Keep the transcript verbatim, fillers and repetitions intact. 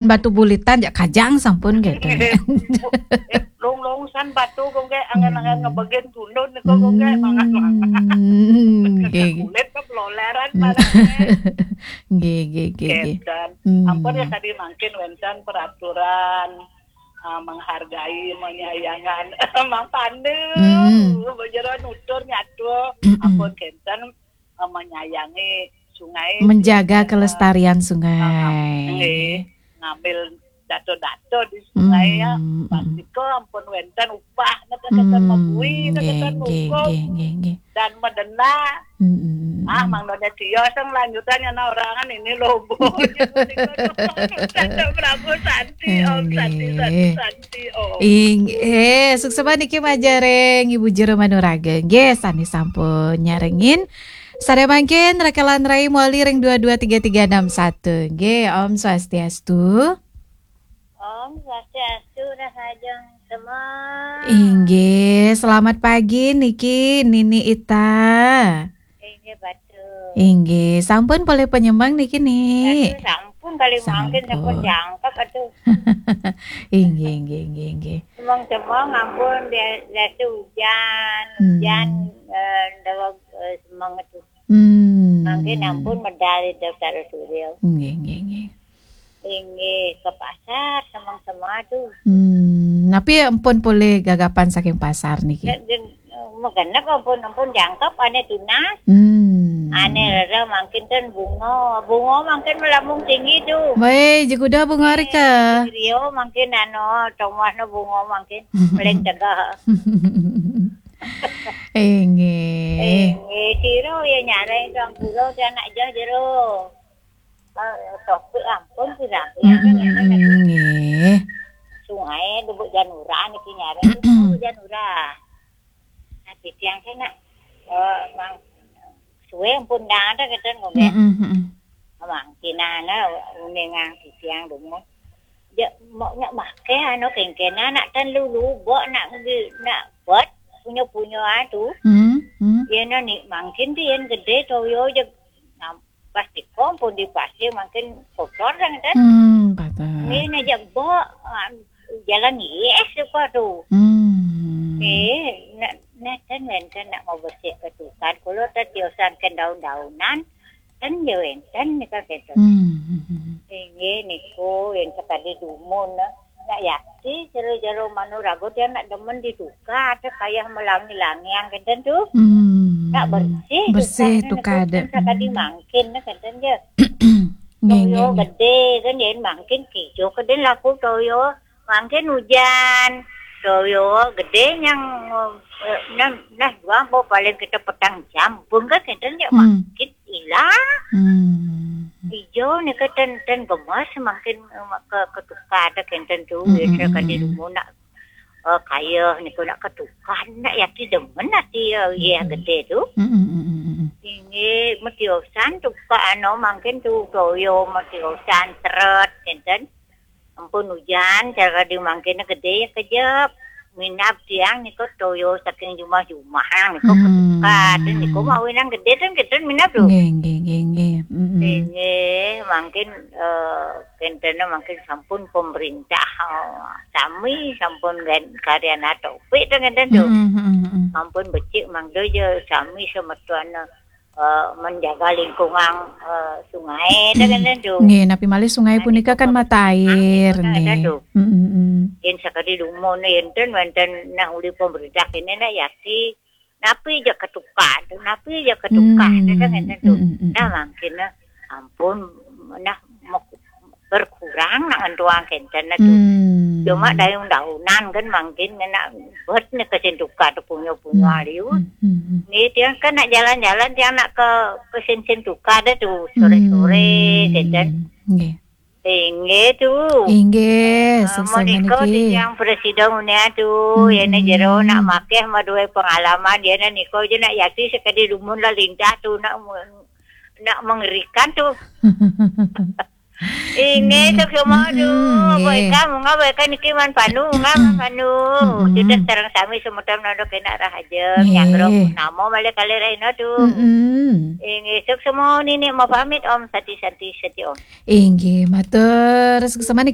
batu bulitan, jak kajang sampun gitu. Lung-lung san batu kok nggih, angan-angan ngebegin tundun niku kok nggih, mangan-mangan. Hmm, nggih. Kulit kok loleran. Hmm. Nggih, nggih, nggih, nggih. Kénten. Hmm. Ampun ya, tadi mangkin wénten peraturan, ah, menghargai, menyayangan. Mang Pandu, hmm, bojero nutur nyatur. Mm-mm. Ampun kénten, eh, menyayangi sungai, menjaga kelestarian sungai. Ah, nggih. Ngambil dato-dato di sungai ya. Hmm, mm-mm. Pasti kok ampun wénten upah, nggih, nggih, nggih, nggih. Dan medena. Mm-mm. Ah, Mang Doni Tio, sing lanjutannya nah orangan ini lobo. Satu Prabu Santi, Om Santi, Santi, nggih. Santi, Om. Inggih, suksma niki majareng Ibu Jero Manuraga. Nggih, sami sampun nyarengin. Sareng mangkin rekelan rai moli ring dua dua tiga tiga enam satu. Nggih, Om Swastiastu. Om Swastiastu, rahajeng semua. Inggih, selamat pagi niki Nini Ita. Inggih, Batu. Inggih, sampun polih penyemang niki, Ni? Aduh, sampun kali mangkin, sampun. Sampun jangkep, aduh. Inggih, inggih, inggih, inggih. Semang-semang ampun bia-, biasa hujan, hmm, hujan, eh, dawa, eh, semang itu. Hmm. Mangkin ampun medal itu terus hujan. Inggih, inggih, inggih. Inggih, ke pasar semang-semang tuh. Hmm, napi ampun polih gagapan saking pasar niki? Megenep ampun, ampun jangkep, ané tunas. Hmm. Ané rera mangkin ten bunga. Bunga mangkin melambung tinggi tu. Wéh, jeguda bunga rika. Rio mangkin anu, tomasna bunga mangkin paling tegah. Inggih. Inggih, sira ya nyareng tuang pura, anak jah jero. Eh, topik ampun sira. Mm-mm, nggih. Sungai Lubuk Janura niki nyareng, Lubuk Janura. Nah, titiang kena, eh, mang, suwe pun dah ada keten ngombe. Mm-mm, mm-mm. Mang kinana uningang titiang dumun. Ya, mau nyak make anu kengkena nak ten lulu bok nak ngi-, nak buat punya-punya atu. Hmm, hmm. Ya, nah, ni mangkin tu yang gede toyo je. Nah, pasti kompon di pasir mangkin kotor kan, kan? Hmm, patah. Ni nak je bok, ah, jalan yes apa tu. Hmm. Eh, nak, nak ten, nak mau bersih ketukan. Kalau tak tiosan ke daun-daunan, ten je wénten nika kenten. Hmm, hmm, hmm. Inggih niku yang sekali dumun, nak yakti jero-jero manuraga dia nak demen ditukar, ada kayah melangi-langiang kenten tu. Hmm. Nak bersih, bersih tukar niku, tukar ada. Kan sekali mangkin kenten je. Nggih, toyo nggih, nggih. Gede kan, ya mangkin kijo keden laku toyo. Mangkin hujan, toyo gede yang, eh, nah, nah, juang po paling kita petang jam, bengkak kenten ya, hmm, mangkin ilang. Hmm. Ijo nika ten, ten gemes mangkin, eh, ke, ketukar ada kenten tu, hmm, ya, hmm, saya kan di, hmm, rumah nak, eh, kaya niku nak ketukar, nak yakti demen ati, eh, iya, hmm, gede tu. Hmm, hmm, hmm, hmm, hmm. Ini metiosan tukar anu mangkin tu, toyo metiosan teret kenten. Ampun hujan, cara di mangkene gede ya kejep. Minab tiang niku toyo saking jumah-jumah niku, hmm, ketukat. Niku mau winang gede ten kenten minab tu. Nggih, nggih, nggih, nggih. Mm-mm. Nggih, mangkin, eh, kentene mangkin sampun pemerintah, eh, sami sampun ngen-, karyan atau pik ten kenten tu. Mm-mm, mm-mm, mm-mm. Sampun becik mangda ya sami semeton, eh, menjaga lingkungan, eh, sungai, dah kan, tu. Nggih, napi malih sungai punika kan mata air, nggih. Yen sakadi dumun, enten wénten nah uli pemerintah ini nak yakti, napi ja ketukar, napi ja ketukar, dah kan, tu. Hmm, hmm, hmm. Nah, mangkin, nah, ampun, nah, mok-, berkurang nak ngentuang kenten tu. Hmm. Cuma daun-daunan kan mangkin nak buat ni kesin tukar tu punya-punya liu. Hmm, hmm, hmm. Ni tiang kan nak jalan-jalan, tiang nak ke, kesin-sin tukar dah tu sore-sore, hmm, kenten. Nggih. Inggih tu. Inggih, ah, sukses menika niki. Tiang presiden unia tu, hmm, ya ni jero nak makeh maduai pengalaman, ya ni niko je nak yakti sekadi dumun lah lintah tu nak, nak mengerikan tu. Inggih, hmm, suksma, mm-mm, tu. Nggih. Baik, Kak, monggo, baik, Kak, niki Man Panu, monggo, Man Panu. Mm-mm. Sudah sareng sami semeton nanduk enak rahaja. Nggih. Nyanggra nama malih kalih rahina, tu. Mm-mm. Inggih, suksma, Nini, mau pamit, Om, Sati, Santi, Sati, Om. Inggih, matur suksma.